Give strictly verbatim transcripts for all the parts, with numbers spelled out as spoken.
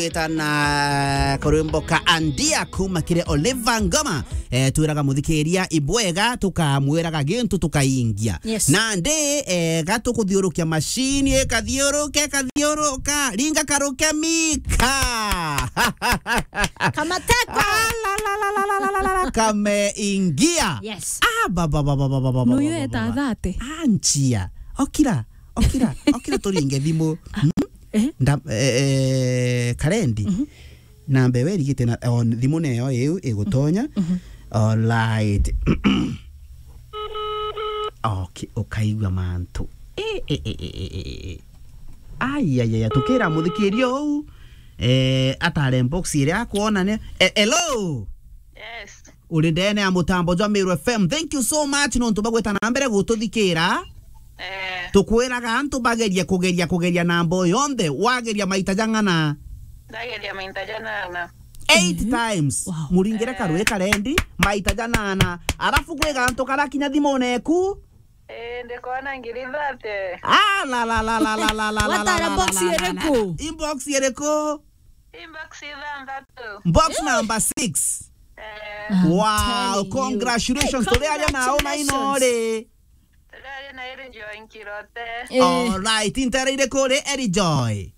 Gwitana kurwimbo ka Andia kuma kiri Oliver Ngoma. Eh, twiraga muthikiria ibwega, tukamwiraga gintu tukaingia. Yes. Nandi, eh, gatukuthiurukia mashini, ikathiuruka, ikathiuruka, ringa karuke mika. Kamateko. Ah, la, la, la. Kameingia. Yes. Ah, ba, ba, ba. Nuyo eta thate. Anchia. Okira, okira, okira turinge thimu. Hmm? Eh? Nda-, eh, eh, Karendi. Mhm. Namba iwe irigite na, o, thimu neyo iu igutonya. Mhm. Alright. Okay, ukaigua mantu. Eh, eh, eh. Ai, ai, ai, tukira muthikiria uu, eh, atare box iria akwona ni. Eh, hello? Yes. Uri ndene ya mutambo jwa Meru F M. Thank you so much nontu bagwita na mbere gututhikira. Eh. Tukwiraga antu bagerie kugeria, kugeria namba o yonthe, wageria maita jang'ana? Ndageria maita janana. Eight times. Wow. Muringire karui karendi, maita janana. Arafu kwi gantu karakinya thimune eku? Eh, ndikona ngiri thate. Ah, la, la, la. Watara box iriku? Inbox iriku? Inbox ithanthatu. Box number six. Eh. I'm telling you. Wow, congratulations. Hey, turi aria nao na ino ri. Turi aria na Eri Joy Nkirote. Eh. All right, intere iriku ri, Eri Joy?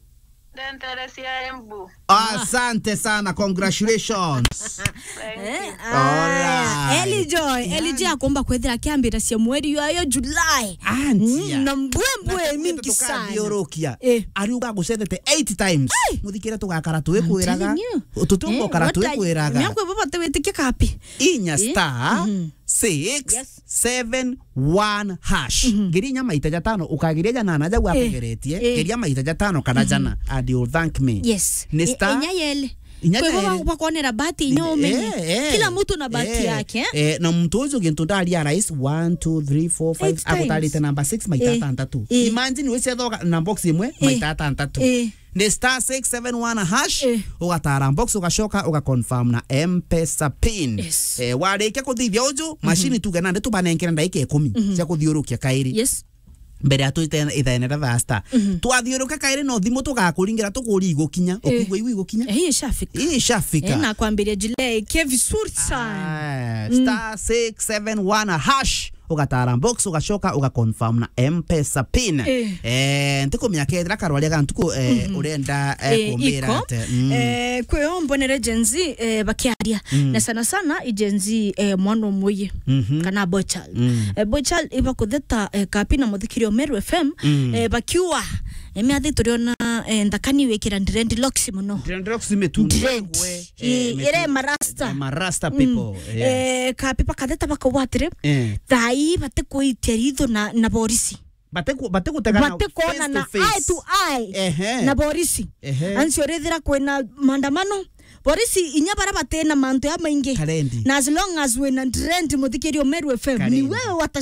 Ndentere cia Embu. Asante sana, congratulations. Thank you. Eh, all right. Eli Joy, Eli Joy akomba kwethira akiambira cia mweri yoyo July. Antia. Mm, na mbwembwe mingi sana. Tukathiurukia. Eh. Ari ugagucethete eight times. Ai! Muthikire tugakara twikwiraga. I'm telling you. Tutumbo kara twikwiraga. Miako baba tewitikia kapi. Inya star six seven one hash. Mhm. Geria inya maita jatano, ukageria janana jau ategeretie. Eh. Geria maita jatano kana jana, and you'll thank me. Yes. Ni star inya yele. Inya yele. Kwa hivyo bakonera bahati inya umenye. Eh, eh. Kila mtu na bahati yake, eh? Eh, na mtu ucio gintu ndaria rais one, two, three, four, five, agutarite number six maita atantatu. Eh. Imagine wicethoka na box imwe maita atantatu. Eh. Ni star six seven one hash, eh, ugatara box, ugacoka, ugaconfirm na M-Pesa pin. Yes. Eh, warikia kuthithia uju, mashini tuge nandi tubanenkere ndagika ikumi cia kuthiurukia kairi. Yes. Mbere ya twite ithaene ria thaa sita. Mhm. Twathiuruka kairi no thimu tugakuringira tukuri igukinya, eh, ukigua igu igukinya. Eh, ishafika. Ishafika. Eh, na kwambiria jile ke vizuri sana. Ah, star six seven one hash. Ugatara box, ugacoka, ugaconfirm na M-Pesa pin. Eh. Eh, ntikumenya kethira karwaria ga ntuku, eh, urenda, eh, kumbira iko ate. Mm. Eh, kwi o mbonere Gen Z, eh, bakiaria. Mm. Na sana sana i Gen Z, eh, mwana umwe ye. Mhm. Kana boy child. Mm. Eh, boy child ibakutheta, eh, kapi na muthikiri o Meru F M, eh, bakiuga, eh, miathi turiona, eh, nthakani wikira dreadlocks muno. Dreadlocks imetundwa. Dread. Eh, ire marasta. Eh, marasta people, yeah. Eh, kapi bakatheta bakauga atiri, eh, thai batikuitia ritho na, na borisi. Batiku-, batikutegana face to face. Batikuonana eye to eye na borisi. Ehe. Ancio rithira kwina maandamano, borisi inya bara batina mantu ya maingi. Karendi. Na as long as wina dread, muthikiri o Meru F M, ni wewe wata